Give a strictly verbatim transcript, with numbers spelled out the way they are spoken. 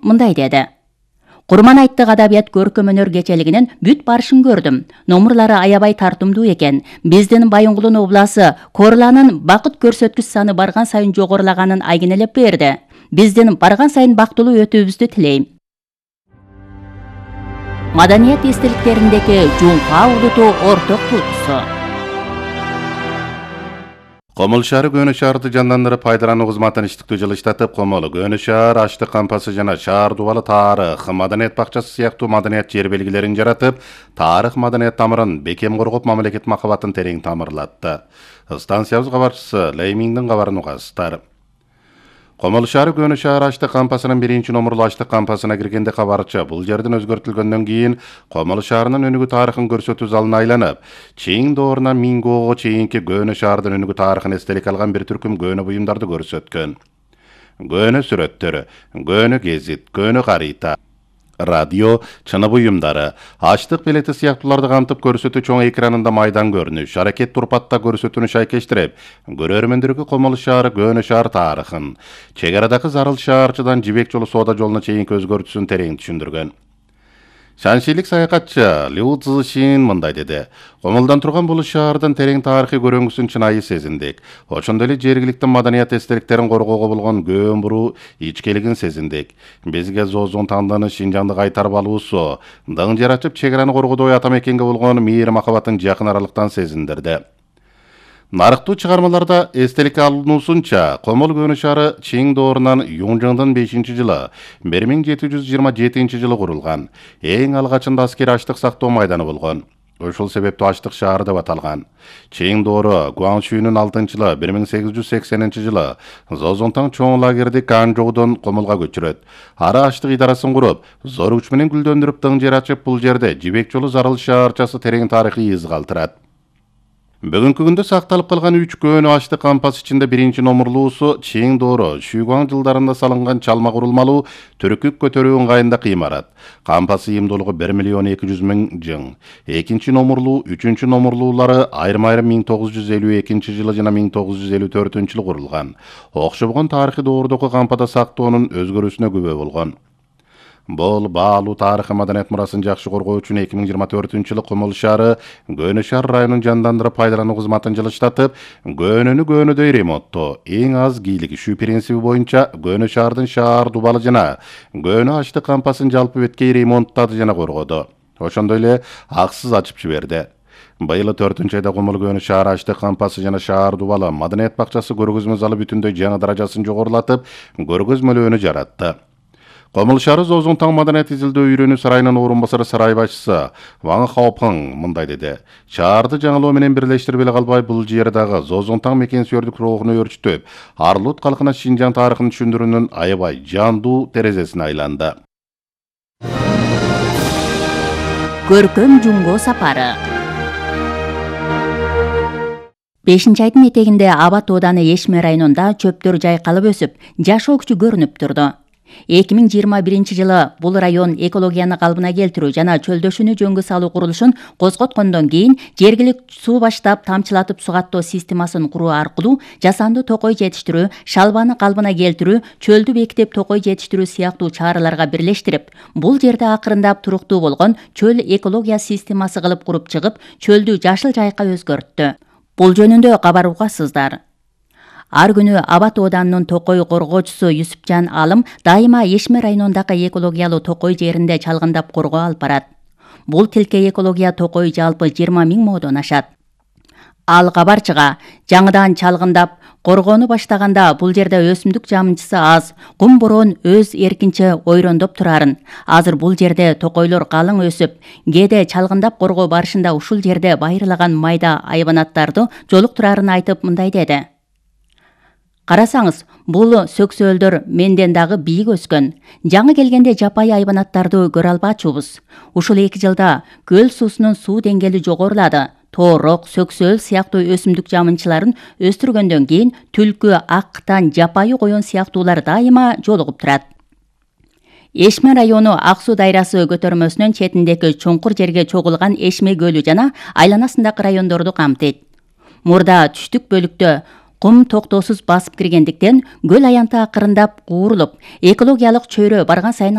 мындай деди. Курман айттык адабият көркөм өнөр кечелигинин бүт барышын көрдүм. Номурлары аябай тартымдуу экен. Биздин Байынгулдун обласы Корланын бакыт көрсөткүч саны барган сайын жогорулаганын айгинелеп берди. Биздин барган сайын бактылуу өтүүбүздү тилейм. Маданият эстеликтериндеги жуңка улуту орток туутусу. Комол шаары Көнө шаарды жандандырып пайдалануу кызматын иштиктүү жылыштатып, Комол, Көнө шаар, Аштык кампасы жана шаар дубалы тарых, маданият бакчасы сыяктуу маданият жер белгилерин жаратып, тарых маданият тамырын бекем коргоп, мамлекет макабатын терең тамырлатты. Станциябыз кабарчысы Леймиңдин кабарын угасыздар. Комол шаары Көнө шаар Аштык кампасынын биринчи номурлуу Аштык кампасына киргенде кабарчы бул жердин өзгөртүлгөндөн кийин Комол шаарынын өнүгүү тарыхын көрсөтүү залына айланып, чейин доорунан Мингоого чейинки Көнө шаардын өнүгүү тарыхын эстелик алган бир түркүм көнө буюмдарды көрсөткөн. Көнө сүрөттөр, көнө гезит, көнө карыйта, радио, чыны буюмдары, Аштык билети сыяктууларды камтып көрсөтүү чоң экранында майдан көрүнүш, аракет турпатта көрсөтүүнү шайкештирип, көрөрмөндөргө Комол шаары Көнө шаар тарыхын, чек арадагы Зарыл шаарчыдан Жибек жолу соода жолуна чейинки өзгөртүүсүн терең түшүндүргөн. Шаншилик саякатчы Лю Цзишин мындай деди. Комолдон турган бул шаардын терең тарыхый көрөңгүсүн чынайы сезиндик. Ошондой эле жергиликтүү маданият эстеликтерин коргоого болгон көөн буруу ичкилигин сезиндик. Бизге Зоозун танданы Шинжаңды кайтарып алуусу, дың жер ачып чек араны коргоодой ата мекенге болгон мейир махабатын жакын аралыктан сезиндирди. Нарыктуу чыгармаларда эстелик алынуусунча, Комол Көнө шаары Чиң доорунан Юңжыңдын бешинчи жылы бир миң жети жүз жыйырма жетинчи жылы курулган. Эң алгачында аскер аштык сактоо майданы болгон. Ошол себептүү Аштык шаары деп аталган. Чиң доору Гуаңшүүнүн алтынчы жылы бир миң сегиз жүз сексенинчи жылы Зоозунтаң чоң лагерди Канжоудон Комолго көчүрөт. Ара аштык идарасын куруп, зор күч менен гүлдөндүрүп дың жер ачып, бул жерде Жибек жолу Зарыл шаарчасы терең тарыхый из калтырат. Бүгүнкү күндө сакталып калган үч көнө Аштык кампасы ичинде биринчи номурлуусу Чиң доору Шүйгуаң жылдарында салынган чалма курулмалуу түркүк көтөрүү ыңгайында кыймарат. Кампасы ийимдүүлүгү бир миллион эки жүз миң жың. Экинчи номурлуу, үчүнчү номурлуулары айрым-айрым миң тогуз жүз элүү экинчи жылы жана миң тогуз жүз элүү төртүнчү жылы курулган. Окшобгон тарыхый доордогу кампада сактоонун өзгөрүүсүнө күбө болгон. Бул баалуу тарыхый маданият мурасын жакшы коргоо үчүн эки миң жыйырма төртүнчү жылы Комол шаары Көнө шаар районун жандандырып пайдалануу кызматын жылыштатып, көнөнү көнөдөй ремонттоо, эң аз кийлигишүү принциби боюнча Көнө шаардын шаар дубалы жана Көнө Аштык кампасын жалпы беткей ремонттады жана коргоду. Ошондой эле аксыз ачып жиберди. Быйыл төртүнчү айда Комол Көнө шаары Аштык кампасы жана шаар дубалы маданият бакчасы көргөзмө залы бүтүндөй жаңы даражасын жогорулатып, көргөзмөлөөнү жаратты. Комол шаары Зоозунтаң маданият изилдөө үйрөнүү сарайынын орун басары сарай башчысы Ваң Хаопың мындай деди. Шаарды жаңылоо менен бирлештирип эле калбай, бул жер дагы Зоозунтаң мекен-сүйөрдүк рухуну өрчүтүп, Арлут калкына Шинжаң тарыхын түшүндүрүүнүн аябай жандуу терезесине айланды. Көркөм жумго сапары. бешинчи айдын этегинде Абат ооданы Эшме районунда чөптөр жайкалып өсүп, жашоо күчү көрүнүп турду. эки миң жыйырма биринчи жылы бул район экологияны калыбына келтирүү жана чөлдөшүүнү жөнгө салуу курулушун козготкондон кийин жергиликтүү суу баштап тамчылатып сугаттоо системасын куруу аркылуу жасанды токой жетиштирүү, шалбаны калыбына келтирүү, чөлдү бекитип токой жетиштирүү сыяктуу чараларга бирлештирип, бул жерде акырындап туруктуу болгон чөл экология системасы кылып куруп чыгып, чөлдү жашыл жайка өзгөрттү. Бул жөнүндө кабар угасыздар. Ар күнү Абат ооданынын токой коргоочусу Юсупжан Алым дайыма Эшме районундагы экологиялуу токой жеринде чалгындап коргоо алып барат. Бул тилке экология токой жалпы жыйырма миң моодон ашат. Ал кабарчыга жаңыдан чалгындап коргоону баштаганда бул жерде өсүмдүк жамынчысы аз, кум бороон өз эркинче ойрондоп турарын. Азыр бул жерде токойлор калың өсүп, кээде чалгындап коргоо барышында ушул жерде байырлаган майда айбанаттарды жолуктурарын айтып мындай деди. Карасаңыз, бул сөксөөлдөр менден дагы бийик өскөн. Жаңы келгенде жапайы айбанаттарды көрө албачубуз. Ушул эки жылда көл суусунун суу деңгээли жогорулады. Тоорок, сөксөөл сыяктуу өсүмдүк жамынчыларын өстүргөндөн кийин түлкү, ак-кытан, жапайы коён сыяктуулар дайыма жолугуп турат. Эшме району Ак суу дайрасы көтөрмөсүнүн четиндеги чуңкур жерге чогулган Эшме көлү жана айланасындагы райондорду камтыйт. Мурда түштүк бөлүктө Кум токтоосуз басып киргендиктен көл аянты акырындап куурулуп, экологиялык чөйрө барган сайын